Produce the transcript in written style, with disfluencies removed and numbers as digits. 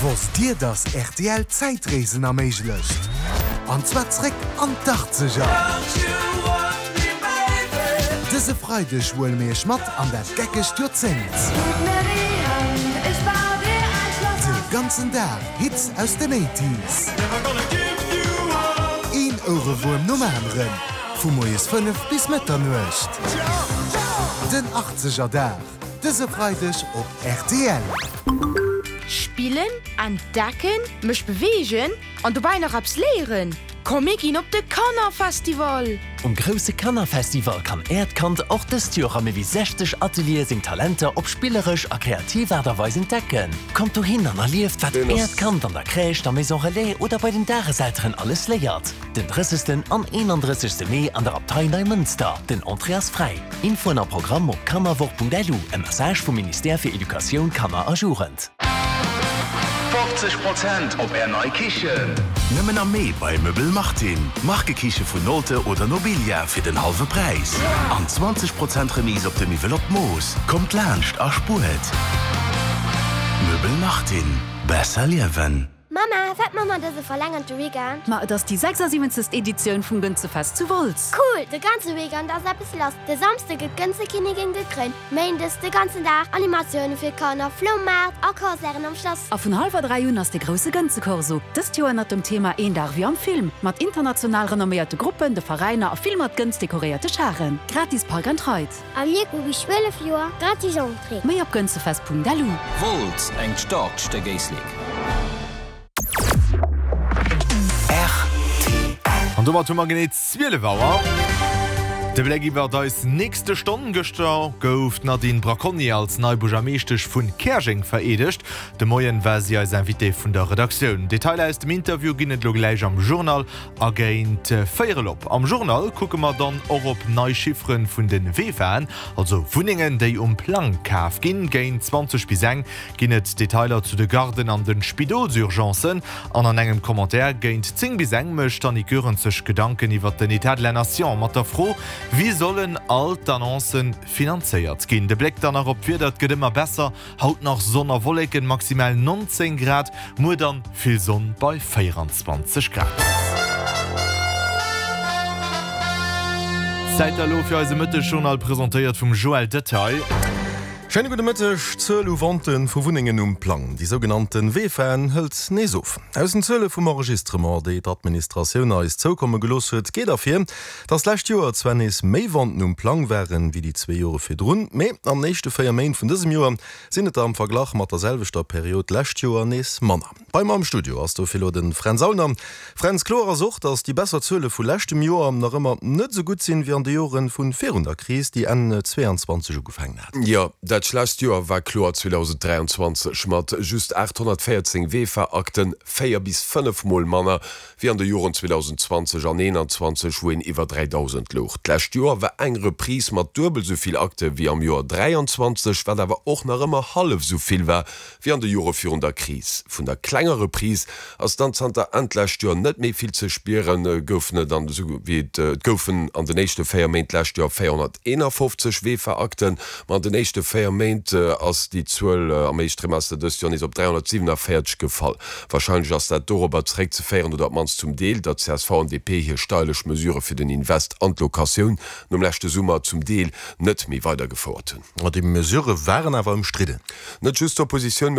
Wosst Dir, dass rtl Zäitreesen erméiglecht? An zwar zréck an d'Achtzeger! Dëse Freideg huele mir Iech mat an dat geckegt Joerzéngt. De ganzen Dag Hits aus den Eighties. Een Ouerewuerm nom aneren, vu moies 5 bis Mëtternuecht. Den Achtzeger Dag, dëse Freideg op rtl. Spillen, entdecken, mech beweegen an dobäi nach eppes léieren? Komm mir ginn op de Kannerfestival! Um grousse Kannerfestival kann Äert Kand och dëst Joer a méi wéi 60 Ateliere seng Talenter op spilleresch a kreativ Aart a Weis entdecken. Kommt dohin an erlieft, wat Äert Kand an der Crèche, der Maison Relais oder bei den Dageselteren alles léiert. Den 30. an 31. Mee an der Abtei Neimënster. Den Entrée ass fräi. Infoen a Programm op kannerwoch.lu, e Message vum Ministère fir Educatioun, Kanner a Jugend. 50 Prozent op Är nei Kichen! Nëmmen am Mee bei Möbel Martin. Markekiche vun Nolte oder Nobilia fir den hallwe Präis. An 20 Prozent Remise op de Miwwel op d'Mooss. Kommt laanscht a spuert! Möbel Martin. Besser liewen. Mamma, wat man mer dëse verlängerte Weekend? Ma et ass déi 76. Editioun vum Gënzefest zu Wolz. Cool! De ganze Weekend ass eppes lass. De Samsde gëtt d'Gënzekinnigin gekréint, Méindes de ganzen Dag Animatioune fir d'Kanner, Floumaart a Concerten am Schlass. A vun hallwer 3 un ass de grousse Gënzekorso, dëst Joer ënnert dem Thema Een Dag wéi am Film, mat international renomméierte Gruppen, de Veräiner a vill mat Gënz dekoréierte Charen. Gratis Park and Ride. A mir hu bis 12 Joer gratis Entrée. Méi op gënzefest.lu. Wolz, engt staarkt Stéck Éislek. An domat hu mer genee 12 Auer. De Bléck iwwert eis nächste Stonn. Gëschter gouf d'Nadine Bracconi als nei Buergermeeschtesch vun Käerjeng vereedegt. De Moien war si eis Invitée vun der Redaktioun. Detailer aus dem Interview ginn et elo gläich am Journal A géint véierel op am Journal kucke mer dann och op nei Chiffere vun de VEFAen, also Wunnengen, déi um Plang kaf ginn. Géint 20 bis eng ginn et Detailer zu de Garden an de Spidolsurgencen. An an engem Commentaire géint 10 bis eng mécht d'Annick Goerens sech Gedanken iwwer den Etat de la Nation mat der Fro, Wéi sollen all d'Annoncen finanzéiert ginn? De Bléck dann nach op d'Wieder, Et gëtt ëmmer besser, Haut nach Sonn a Wolleken, maximal 19 Grad, muer dann vill Sonn bei 24 Grad. Zäit da lo fir eise Mëttesjournal, presentéiert vum Joël Detaille. Schéine gudde Mëtteg. D'Zuel u Vente vu Wunnengen um Plang, déi sougenannte VEFAen, hëlt nees of. Aus den Zuele vum Enregistrement, déi d'Administratioun eis zoukomme gelooss huet, geet ervir, Dass d'lescht Joer zwar nees méi Venten um Plang waren, wéi déi zwee Jore virdrun, mee an den éischte 4 Méint vun dësem Joer sinn et der am Verglach mat der selwechter Period d'lescht Joer nees manner. Bei mer am Studio ass dofir elo de Fränz Aulner. Fränz, kloer ass och, dass déi besser Zuele vu leschtem Joer nach ëmmer net esou gutt sinn, wéi an de Jore vu virun der Kris, déi Enn 22 ugefaangen hat. Jo, dat schlechtst Joer war kloer 2023 mat just 814 VEFA-Akten, 4 bis 5 Mol manner wéi an de Joren 2020 an 2021, wou een iwwer 3.000 louch. D'lescht Joer war eng Reprise mat duebel sou vill Akte wéi am Joer 23, wat awer och nach ëmmer hallef sou vill war wéi an de Jore virun der Kris. Vun der klenger Reprise ass dann zanter Enn d'lescht Joer net méi vill ze spieren. Goufen et an esou wéi et et goufen an den éischte 4 Méint d'lescht Joer 451 VEFA-Akten, ma an den éischte 4 Méint ass déi Zuel am éischt Trimester dëst Joer nees op 347 gefall. Warscheinlech ass dat dorobber zeréckzeféieren, oder op d'mannst zum Deel, datt csv an DP hir steierlech Mesurë fir den Invest an d'Locatioun nom leschte Summer zum Deel net méi weidergefouert hunn. Déi Mesurë waren awer ëmstridden. Net just d'Oppositioun, mee.